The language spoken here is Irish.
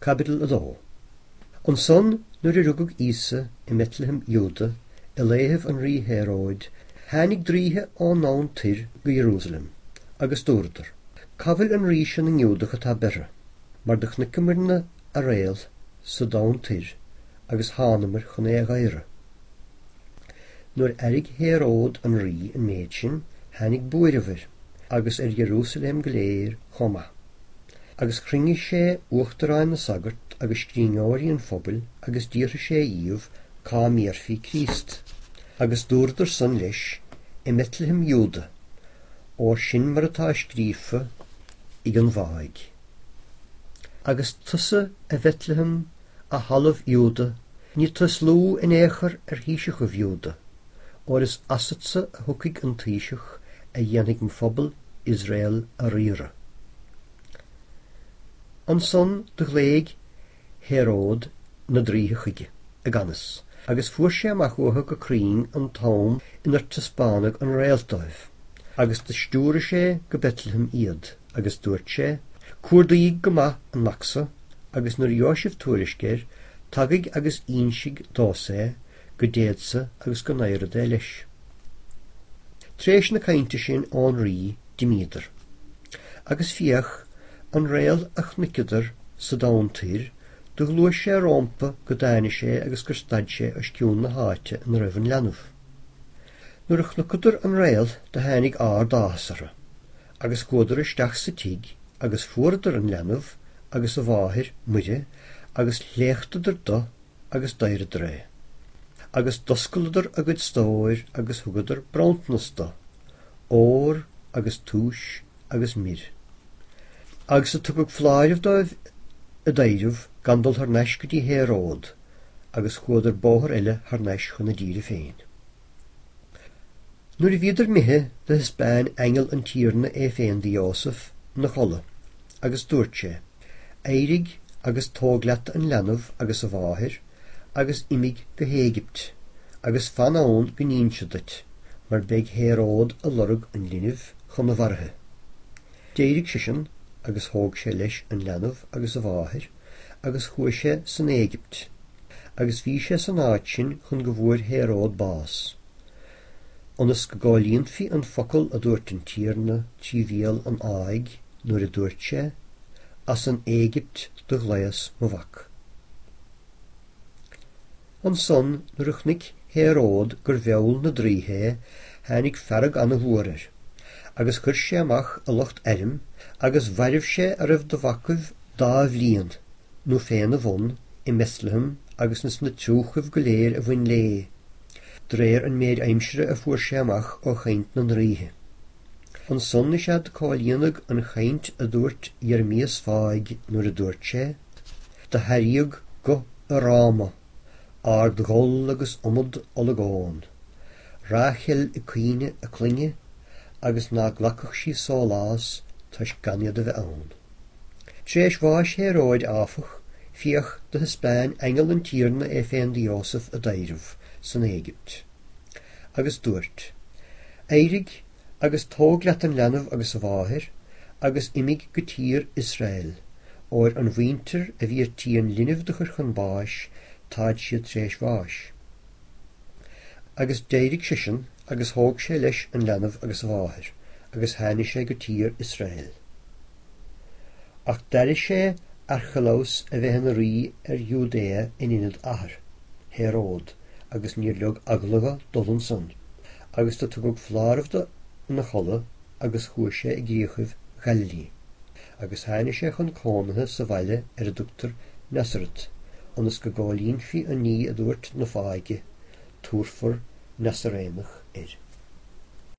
Caibidil 2. Ansan nuair a rugadh Íosa i mBetlehem Iúda i laethibh an rí Héróid, tháinig draoithe ón ndomhan toir go Ierúsalem, agus dúradar, Cá bhfuil an rí seo na nGiúdach atá beirthe? Mar do chnuiceamarna a réalt sa domhan toir agus thánamair chun é a dh'adhradh. Nuair airigh Héród an rí an méid sin, tháinig buaireamh air, agus ar Ierúsalem go léir chomh maith. Agus chruinnigh sé uachtaráin na sagart agus scríbhneoirí an phobail agus d'fhiafraigh sé dhíobh cá mbéarfaí Críost. Agus dúradar san leis, I mBetlehem Iúda, óir sin mar atá scríofa ag an bhfáidh. Agus tusa, a Bhetlehem, a thalamh Iúda, ní tu is lú in aon chor ar thaoiseachaibh Iúda, óir is asatsa a thiocfaidh an taoiseach a dhéanfaidh mo phobal Iosrael a riaradh. Ansan do ghlaoigh Héród na draoithe chuige i gcannas, agus fuair sé amach uathu go cruinn an t-am inar taispeánadh an réalt dóibh. Agus do stiúraigh sé go Betlehem iad, agus duairt sé, Cuardaídh go maith an mac so, agus nuair a gheobhaidh sibh tuairisc air, tagaidh agus ínsidh domhsa é, go dtéadsa agus go n-adhrad é leis. T'réis na cainnte sin ón rí d'imíodar. Agus féach, an réalt a chnuiceadar sa domhan toir, do ghluais sé rómpa go dtáini sé agus gur stad sé os cionn na háite ina raibh an leanbh. Nuair a chnucadar an réalt do tháinig árd-áthas orthu, agus chuadar isteach sa tigh agus fuaradar an leanbh agus a mháthair, Muire, agus shléachtadar do agus d'adhradar é. Agus d'oscaileadar a gcuid stóir agus thugadar bronntanas do, ór agus túis agus mire. Agus do tugadh foláireamh dóibh i dtaidhreamh gan dul thar n-ais go dtí Héród, agus chuadar bóthar eile thar n-ais chun a dtíre féin. Nuair a bhíodar imithe, do thaispeáin aingeal an Tiarna é féin do Ióseph 'na chodladh, agus duairt sé, Éirigh agus tóg leat an leanbh agus a mháthair, agus imigh go hÉigipt, agus fan ann go n-ínsead duit, mar beidh Héród a lorg an linbh chun a mharaithe. D'éirigh seisean agus thóg sé leis an leanbh agus a mháthair, agus chuaigh sé san Éigipt, agus bhí sé san áit sin chun go bhfuair Héród bás, ionas go gcomhlíonfaí an focal a dúirt an Tiarna trí bhéal an fháidh, nuair a dúirt sé, As an Éigipt do ghlaos mo mhac. Ansan nuair a chnuic Héród gur mheall na draoithe é, tháinig fearg ana-mhór air, agus chuir sé amach a lucht airm, agus mhairbh sé a raibh de mhacaibh dá bhliain nó féna bhun i mBethlehem agus ins na triúchaibh go léir a bhain léi, d'réir an méid aimsire a fuair sé amach ó chainnt na ndraoithe. Ansan is ea do comhlíonadh an chainnt a dúirt Ieremias fáidh nuair a dúirt sé, Do hairíodh guth i Ráma, árd-ghol agus iomad olagón, Ráchel ag caoineadh a clainne, agus ná glacfadh sí sólás toisc gan iad a bheith ann. T'réis bháis Héróid, áfach, féach, do thaispeáin aingeal an Tiarna é féin do Ióseph i dtaidhreamh san Éigipt. Agus dúirt, Éirigh agus tóg leat an leanbh agus a mháthair, agus imigh go tír Iosrael, óir an mhuintir a bhí ar tí an linbh do chur chun báis, táid siad tar éis bháis. Agus d'éirigh seisean agus thóg sé leis an leanbh agus a mháthair, agus tháinig sé go tír Iosrael. Ach d'airigh sé Archelaus a bheith ina rí ar Iúdaea in ionad a athar, Héród, agus níor leog eagla dho dul ansan, agus do tugadh foláireamh do ina chodladh agus chuaigh sé i gcríochaibh Ghaililí. Agus tháinig sé chun cónaithe sa bhaile ar a dtugtar Nasaret, ionas go gcomhlíonfaí an ní a dúirt na fáidhe, Tabharfar Nasaréanach air.